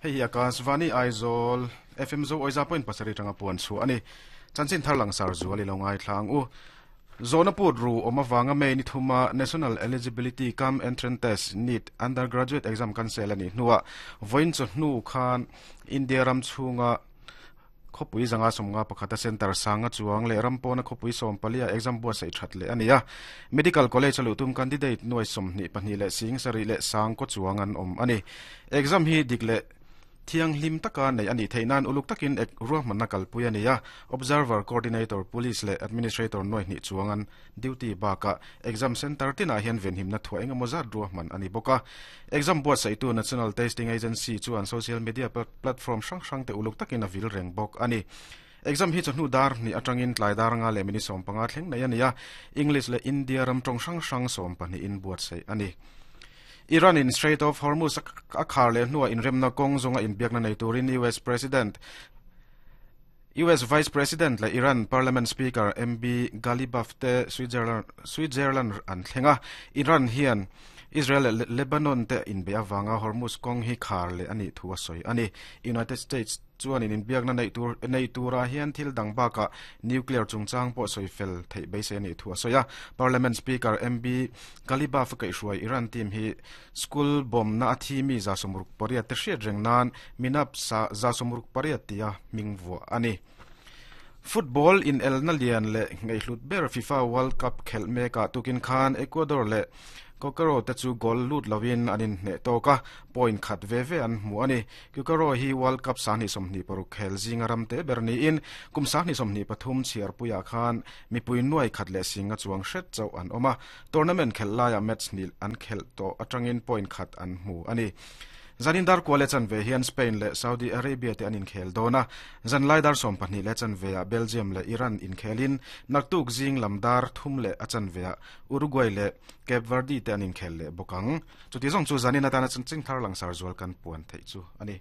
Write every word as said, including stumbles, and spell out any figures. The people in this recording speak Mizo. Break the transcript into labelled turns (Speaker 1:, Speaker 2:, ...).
Speaker 1: Hei hi Akashvani Aizawl F M zo oiza point pasarih tanga puan chu ani. Chanchin thar langsar zual i lo ngai thlang u. Zonapur ru omawanga me ni thuma National Eligibility Cum Entrance Test NEET undergraduate exam cancel ani hnuwa voin chu hnu khan India ram chunga khopui zanga somnga pakhata center sanga chuang le rampona khopui som palia exam bua sei that le ania medical college alu tum candidate noi somni pahnih le sing sari le sang ko chuang an om ani exam hi dikle thiang hlim taka nei ani theinan uluk takin ek ruahman na kalpui ania observer coordinator police le administrator noi ni chuangan duty baka exam center tina hian venhim na thua engemaw zat ruahman ani boka exam buat saitu National Testing Agency chuan social media platform hrang hrang te uluk takin a vil reng bawk ani exam hi chawhnu dar ni atangin tlai dar nga le mini som panga thleng nei ania English le India ram tawng hrang hrang som pahnih in buat sei ani Iran in Strait of Hormuz a khar le hnuah inremna kawng zawnga inbiakna nei turin U S President U S Vice President le Iran Parliament Speaker M B Ghalibaf te Switzerland Switzerland an thlenga Iran hian Israel le Lebanon te inbe awanga Hormuz kawng hi khar le ani thu a sawi ani United States chuan in inbiakna nei tur nei tura hian thil dang baka nuclear chungchang pawh sawi fel theih beisei ani thu a sawi a Parliament Speaker M B Ghalibaf kai hruai Iran team hi school bomb na a thi mi za sawmruk pariat te hriat reng nan minap sa za sawmruk pariat tia hming vuah ani Football in El Nalian le ngaihlut ber FIFA World Cup khel meka tukin khan Ecuador le Kokoro te chu goal lut lovin anin hne toka point khat ve ve an hmu ani Kokoro hi World Cup sani somni paruk khel zinga ram te berni in kum sani somni pathum chiar puya khan mipui nuai khat le singa chuang hret chau an oma tournament khel laia match nil an khel to atangin point khat an hmu ani Zanindar kwale chan ve hian Spain le Saudi Arabia te anin khel dona zanlai dar som pahnih le chan ve a Belgium le Iran in khelin naktuk zing lamdar thum le achan ve a Uruguay le Cape Verde te anin khel le bokang chuti zong chu zanina tana chan ching thar langsar zual kan puan thei chu ani.